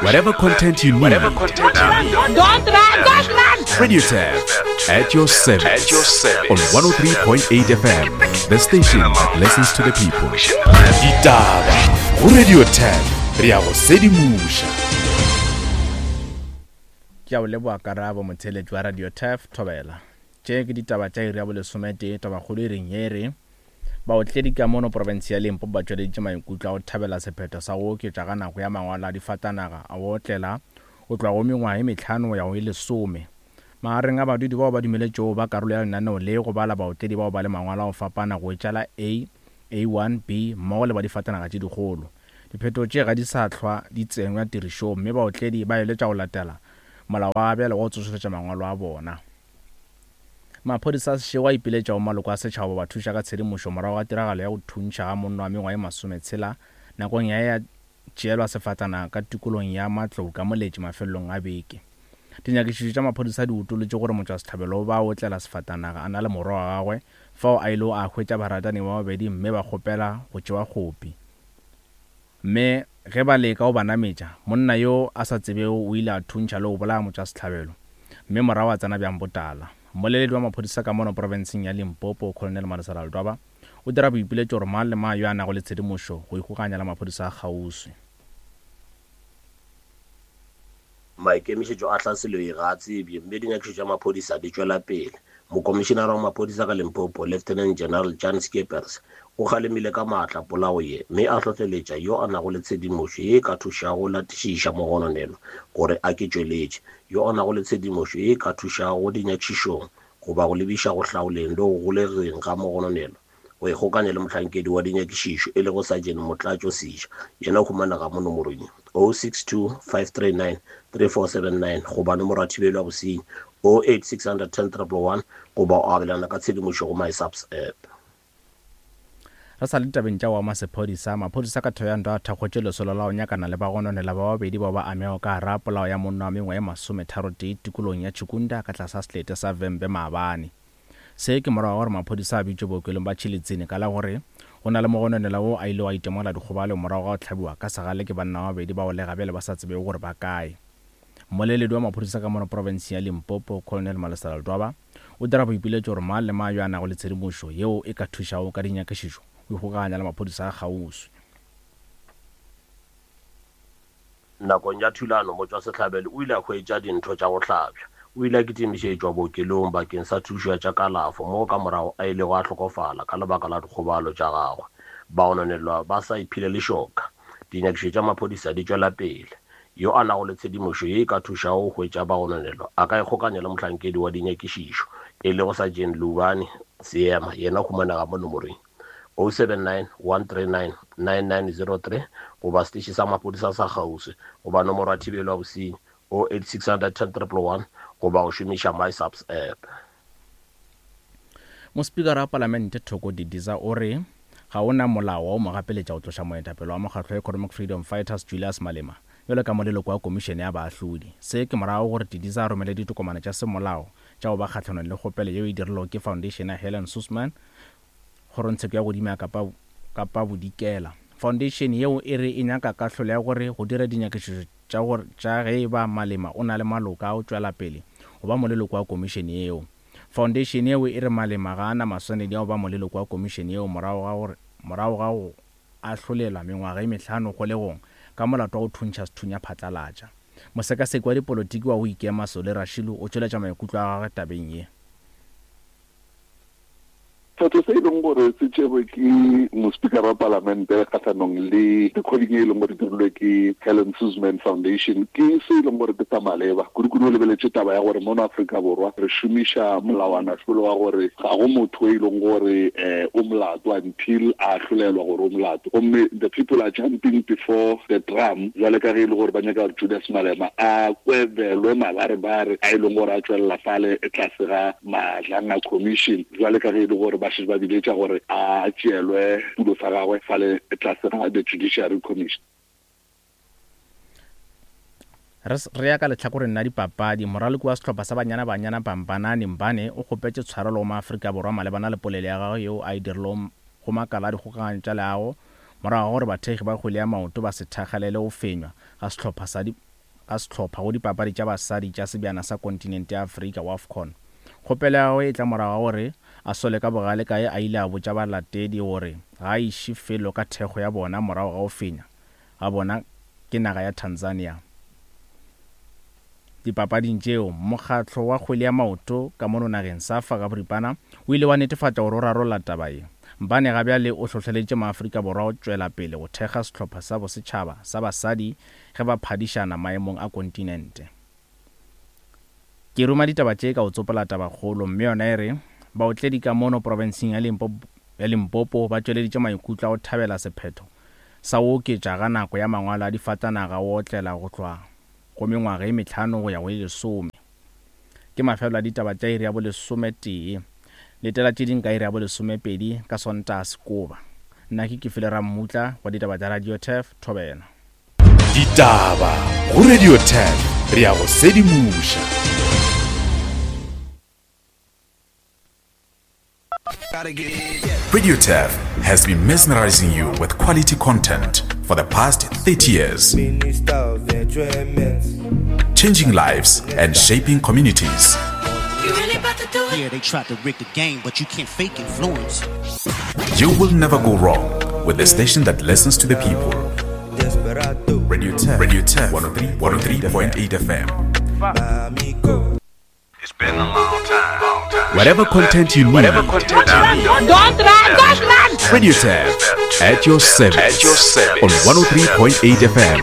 Whatever content you need. Don't run, don't run! Radio Tap at your service. At your service. On 103.8 FM, the station that listens to the people. Ditaba go Radio Tap re ya go sedimoša. Ke a o leboa karabo motheeletši wa Radio Turf Thobela. Tše ke ditaba tša iri ya bolesometee, tabakgolo e reng ye e re Baotledi ka mono profense ya Limpopo ba tšweleditše maikutlo a go thabela sephetho sa go oketša ga nako ya mangwalo a difatanaga a go otlela go tloga go mengwaga e mehlano go ya go e lesome. Magareng a badudi bao ba dumeletšwego go ba karolo ya lenaneo le go bala baotledi bao ba le mangwalo a go fapana go etša la A, A1, B mmogo le ba difatanaga tše dikgolo. Diphetogo tše ga di sa hlwa di tsenywa tirišong mme baotledi ba eletšwa go latela molao wa bjale wa go tsošološa mangwalo a bona. Maphodisa a Seshego a ipiletša go maloko a setšhaba go ba thuša ka tshedimošo morago ga tiragalo ya go thuntšha ga monna wa mengwaga ye masometshela nakong ya ya tšeelwa sefatanaga ka tikolong ya Matlou ka Moletši mafelelong a beke. Dinyakišišo tša maphodisa di utolotše gore motšwasehlabelo o ba otlela sefatanaga a na le morwa wa gagwe fao a ilego a hwetša baratani ba babedi mme ba kgopela go tšewa kgopi. Mme ge ba leka go ba nametša, monna yo a sa tsebego o ile a thuntšha le go bolaya motšwasehlabelo, mme morago a tsena bjang botala. Mmoleledi wa maphodisa ka mono profenseng ya Limpopo, Colonel Malesela Ledwaba, o dira boipiletšo gore mang le mang yo a nago le tshedimošo go ikgokaganya le maphodisa a kgauswi. Maikemišetšo a tlhaselo ye ga a tsebje mme dinyakišišo tša maphodisa di tšwela pele. Mokomišenara wa maphodisa ka Limpopo, Lieutenant General Jan Scheepers, o kgalemile ka maatla polao ye mme a hlohleletša yo a nago le tshedimošo ye e ka thušago go latišiša mogononelwa gore a ke tšweletše. Yo a nago le tshedimošo ye e ka thušago dinyakišišong goba go lebiša go hlaoleng le go golegeng ga mogononelwa go ikgokanya le mohlankedi wa dinyakišišo e lego Sergeant Motlatšo Seja, yena o humanega mo nomorong ye, 062 539 3479 goba nomoro ya thibelo ya bosenyi 08 610 111 goba o abelana ka tshedimošo go MySAPS app. Re sa le ditabeng tša go ama sephodisa, maphodisa ka Thohoyandou a thakgotše lesolo la go nyakana le bagononelwa ba babedi bao ba amego ka gara polao ya monna wa mengwaga ye masometharotee tikologong ya Chikunda ka tlase ga selete sa Vhembe maabane. Se ke morago ga gore maphodisa a bitšwe bookelong ba Tšhilitsini ka la gore go na le mogononelwa wo a ilego a itemogela dikgobalo morago ga go hlabiwa ka segale ke banna ba babedi bao le gabjale ba sa tsebego gore ba kae. Mmoleledi wa maphodisa ka mono profenseng ya Limpopo, Colonel Malesela Ledwaba, o dira boipiletšo gore mang le mang yo a nago le tshedimošo yeo e ka thušago ka dinyakišišo go ikgokaganya le maphodisa a kgauswi. Nakong ya thulano, motšwasehlabelo o ile a hwetša dintho tša go hlabja. O ile a kitimišetšwa bookelong bakeng sa thušo ya tša kalafo moo ka morago a ilego a hlokofala ka lebaka la dikgobalo tša gagwe. Bagononelwa ba sa iphile lešoka. Dinyakišišo tša maphodisa di tšwela pele. Yo a nago le tshedimošo ye e ka thušago go hwetša bagononelwa a ka ikgokanya le mohlankedi wa dinyakišišo e lego Sergeant Lubani Seema, yena o humanega mo nomorong 079 139 9903 goba seteše sa maphodisa sa kgauswi goba nomoro ya thibelo ya bosenyi 086 10 111 goba go šomiša MySAPS app. Mospikara wa Palamente Thoko Didiza o re ga o na molao wa go mo gapeletša go tloša moetapele wa mokgatlo wa Economic Freedom Fighters Julius Malema bjalo ka moleloko wa komišene ya baahlodi. Se ke morago gore Didiza a romele ditokomane tša semolao tša go ba kgahlanong le kgopelo yeo e dirilwego ke Foundation ya Helen Suzman Kgorongtsheko ya Godimo ya Kapa, Kapa Bodikela. Foundation yeo e re e nyaka kahlolo ya gore go dire dinyakišišo tša gore tša ge e ba Malema o na le maloka a go tšwela pele go ba moleloko wa komišene yeo. Foundation yeo e re Malema ga a na maswanedi a go ba moleloko wa komišene yeo morago ga gore morago ga go ahlolelwa mengwaga e mehlano kgolegong ka molato wa go thuntšha sethunya phatlalatša. Mosekaseki wa dipolotiki wa go ikema Solly Rashilu o tšweletša maikutlo a gagwe tabeng ye. Sephetho se e leng gore se tšerwe ke Mospikara wa Palamente kgahlanong le recording e leng gore dirilwe ke Helen Suzman Foundation ke se e leng gore ke sa maleba, kudu-kudu o lebeletše taba ya gore mono Afrika Borwa re šomiša molawana-hlolo wa gore ga go motho e leng gore o molato until a ahlolelwa gore o molato. Gomme the people are jumping before the drum bjale ka ge e le gore ba nyaka gore Julius Malema a kwebelwe mabarebare a e leng gore a tšwelela fale tlase ga Madlanga Commission bjale ka ge e le gore ba šetše ba biletša gore a tšeelwe setulo sa gagwe fale tlase ga the Judiciary Commission. Re re ya ka lehlakoreng la dipapadi, moraloki wa sehlopha sa Banyana Banyana Bambanani Mbane o kgopetše tshwarelo go maAfrika Borwa malebana le polelo ya gagwe yeo a e dirilego go makala a dikgokaganyo tša leago morago ga gore bathekgi ba kgwele ya maoto ba se thakgalele go fenywa ga sehlopha sa ga sehlopha go dipapadi tša basadi tša Sebjana sa Kontinente ya Afrika, WAFCON. Kgopelo ya gagwe e tla morago ga gore a sole ka bogale ka ge a ile a botša balatedi gore ga a iše felo ka thekgo ya bona morago ga go fenya ga bona ke naga ya Tanzania dipapading tšeo. Mokgatlo wa kgwele ya maoto ka mono nageng, SAFA ka boripana, o ile wa netefatša gore o rarolla taba ye. Mbane ga bjale o hlohleleditše maAfrika Borwa go tšwela pele go thekga sehlopha sa bosetšhaba sa basadi ge ba phadišana maemong a kontinente. Ke ruma ditaba tše ka go tsopola tabakgolo mme yona e re, Baotledi ka mono profenseng ya ya Limpopo ba tšweleditše maikutlo a go thabela sephetho sa go oketša ga nako ya mangwalo a difatanaga go otlela go tloga go mengwaga e mehlano go ya go e lesome. Ke mafelelo a ditaba tša iri ya bolesometee. Letela tše ding ka iri ya bolesomepedi ka Sontaga Sekoba. Nna ke Kefile Rammutla wa ditaba tša Radio Turf, Thobela. Ditaba go Radio Turf, re a go sedimoša. Radio Turf has been mesmerizing you with quality content for the past 30 years. Changing lives and shaping communities. Yeah, they tried to rig the game, but you can't fake influence. You will never go wrong with the station that listens to the people. Radio 10, Radio 10, 103.8 FM. Whatever content you need. Don't run! Don't run! Radio Tab at your service. At your service. On 103.8 FM.